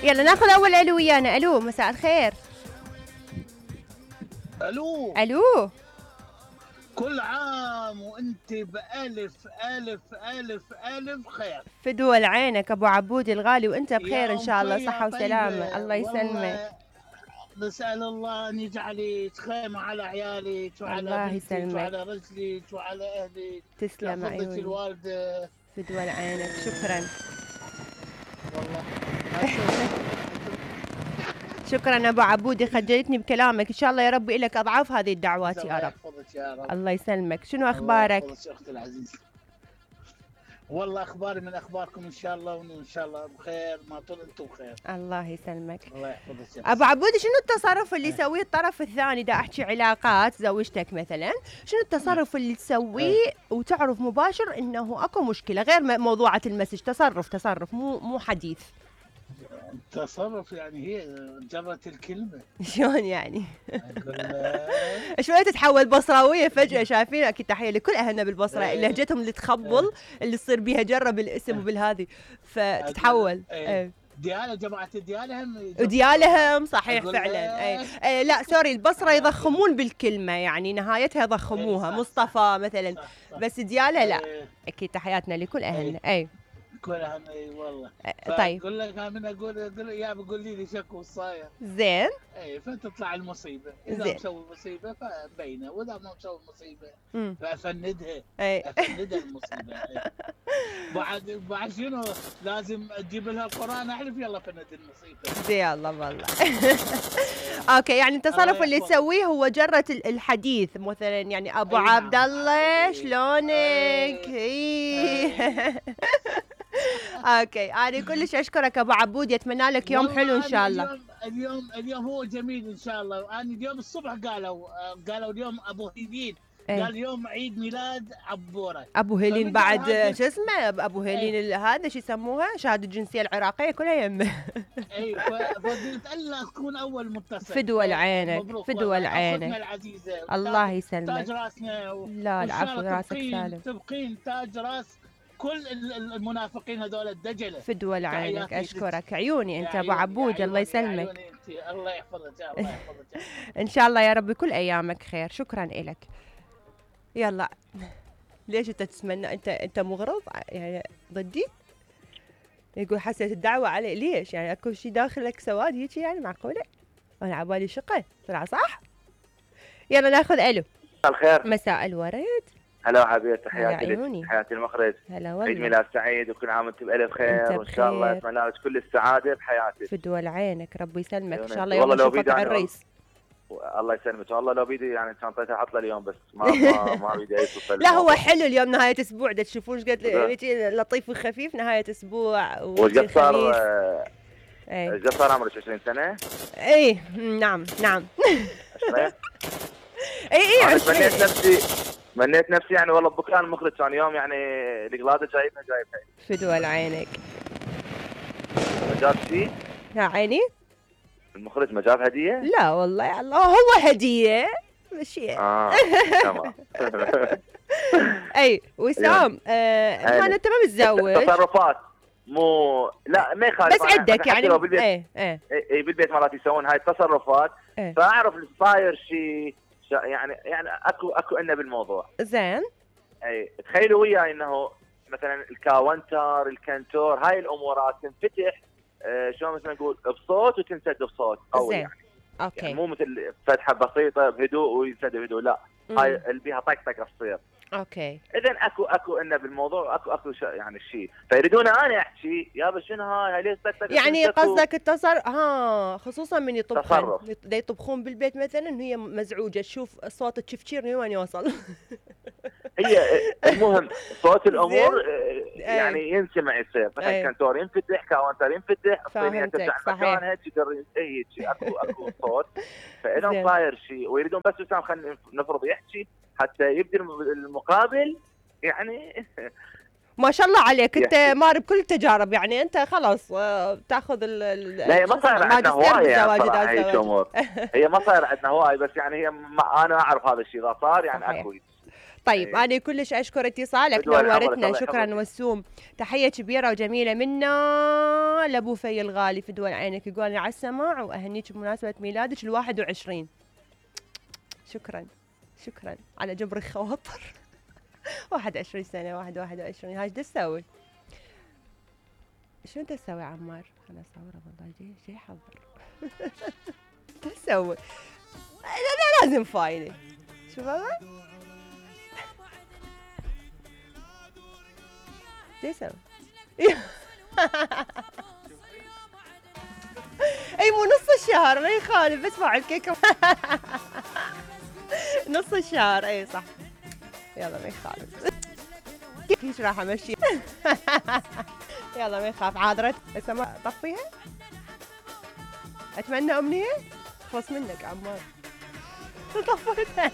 يلا ناخذ اول الو ويانا. الو مساء الخير. الو الو كل عام وانت بألف ألف ألف ألف خير. فدوى عينك ابو عبود الغالي، وانت بخير ان شاء الله، صحة وسلامة. الله يسلمك. والله نسأل الله ان يجعلك خيمة على عيالك وعلى بنتك وعلى رجلك وعلى اهلك. تسلم عيوني. الوالدة فدوى عينك. شكرا والله. شكرا ابو عبودي، خجلتني بكلامك. ان شاء الله يا رب لك اضعاف هذه الدعوات يا رب. الله يسلمك. شنو اخبارك؟ الله يحفظك اختي العزيزه. والله اخباري من اخباركم ان شاء الله، وان شاء الله بخير، ما طول انتم بخير. الله يسلمك. الله يحفظك. ابو عبودي شنو التصرف اللي يسويه الطرف الثاني؟ دا احكي علاقات زوجتك مثلا، شنو التصرف اللي تسويه وتعرف مباشر انه اكو مشكله غير موضوعه المسج؟ تصرف مو حديث. تصرف يعني هي جرت الكلمه. شلون يعني؟ شوية تتحول بصراوية فجأة. شايفين؟ اكيد تحية لكل اهلنا بالبصرة، لهجتهم اللي تخبل، اللي تصير بيها جرة بالاسم وبالهذه، فتتحول. ديالة جماعة الديالة هم وديالة هم صحيح فعلا. اي لا سوري، البصرة يضخمون بالكلمة، يعني نهايتها يضخموها. مصطفى مثلا، بس ديالة لا. اكيد تحياتنا لكل اهلنا. اي كلها اي والله. طيب اقول لك من اقول يا بقول لي شكو صاير زين. اي فتطلع المصيبه، اذا مسوي مصيبه فبينه، واذا ما مسوي مصيبه فافندها. افندها المصيبه. بعد شنو لازم تجيب لها القران احلف يلا فند المصيبه. زي الله والله. اوكي، يعني التصرف اللي تسويه هو جرة الحديث مثلا، يعني ابو عبد الله شلونك؟ اوكي، انا كلش اشكرك ابو عبود، يتمنى لك يوم حلو ان شاء الله. اليوم هو جميل ان شاء الله. انا اليوم الصبح قالوا اليوم ابو هيلين. قال اليوم عيد ميلاد عبوره. ابو هيلين بعد شو اسمه؟ ابو هيلين هذا شو يسموها؟ شهاده الجنسيه العراقيه كلها يمه. اي فقلت الا تكون اول متصل. فدوى عينك. فدوى عينك. اختنا العزيزه الله يسلمك. تاج راسنا لا العفو، راسك سالم. تبقين تاج راس كل المنافقين هذول الدجله. فدوى عينك. اشكرك عيوني انت ابو عبود. الله يسلمك. الله يحفظك. الله يحفظك. ان شاء الله يا رب كل ايامك خير. شكرا لك. يلا ليش انت تتمنى؟ انت مغرض يعني ضدي؟ يقول حسيت الدعوه علي. ليش يعني؟ اكو شيء داخلك سواد هيك يعني؟ معقوله؟ انا عبالي شقه طلع صح. يلا ناخذ الو. مساء الخير. مساء الورد. هلا حبيبتي، تحياتي لك، تحياتي المخرج. هلا والله. عيد ميلاد سعيد وكل عام وانت بالف خير، وان شاء الله اتمنى لك كل السعاده بحياتك. فدوى عينك، ربي يسلمك. ان شاء الله يوم نشوفك على الريس. الله يسلمك. والله لو بيدي يعني شنطتي احط له اليوم، بس ما بيدي اي صفه. لا هو حلو اليوم نهايه اسبوع، تشوفون ايش قد لطيف وخفيف نهايه اسبوع. وقد صار ايش صار عمرك 20 سنه؟ اي نعم 20. اي 20. منيت نفسي يعني والله بكره المخرج كان يوم يعني القلاده جايبها فدوى عينك. ما جاب شيء؟ يا عيني المخرج ما جاب هديه؟ لا والله يا الله هو هديه ماشي. تمام. اي وسام ما انت ما متزوج. تصرفات مو لا ما يخالف، بس عندك يعني اي بالبيت مرات يسوون هاي التصرفات. فاعرف صاير شيء يعني اكو انه بالموضوع. زين. اي تخيلوا وياي انه مثلا الكاونتر الكنتور هاي الامورات تنفتح شلون مثلا نقول بصوت وتنسد بصوت قوي. يعني اوكي يعني مو مثل فتحه بسيطه بهدوء وينسد بهدوء، لا هاي اللي بيها طقطقه تصير. اوكي اذا اكو انه بالموضوع اكو يعني شيء، فيريدون انا احكي يابا شنو هاي ليش طقطقه يعني قصدك التصرف خصوصا من يطبخون يطبخون بالبيت مثلا هي مزعوجه تشوف صوت التشفشير من وين يوصل. هي المهم صوت الامور يعني ينسمع يصير مثلا كنتور ينفتح كاونتر ينفتح الصينيه ترجع مكانها تقدر هيك اكو صوت. فاذا صاير شيء ويريدون بس وسام خلينا نفرض يحكي حتى يبدي المقابل يعني. ما شاء الله عليك انت مار بكل التجارب، يعني انت خلاص تاخذ لا ما صار عندنا هوايه يعني هي ما صار عندنا هوايه، بس يعني هي انا اعرف هذا الشيء اذا صار يعني اكو. طيب انا كلش اشكر اتصالك، نورتنا، شكرا وسوم. تحيه كبيره وجميله منا لابو في الغالي في دول عينك، يقول لي على السماع واهنيك بمناسبه ميلادك ال21. شكرا على جبر الخواطر. 21 سنه 21 هاي ايش تسوي؟ شو انت تسوي عمار؟ انا اصوره والله جاي حضر. ايش تسوي؟ لا لازم فاينه. شو بابا؟ ايش تسوي؟ اي مو نص الشهر ما يخالف، بس فاعل كيكه. نص الشهر اي صح. يلا ما يخالف. كيف راح امشي؟ يلا ما يخاف. عاذرت هسه ما طفيها. اتمنى امنيه خلص منك عمار. طفيتها.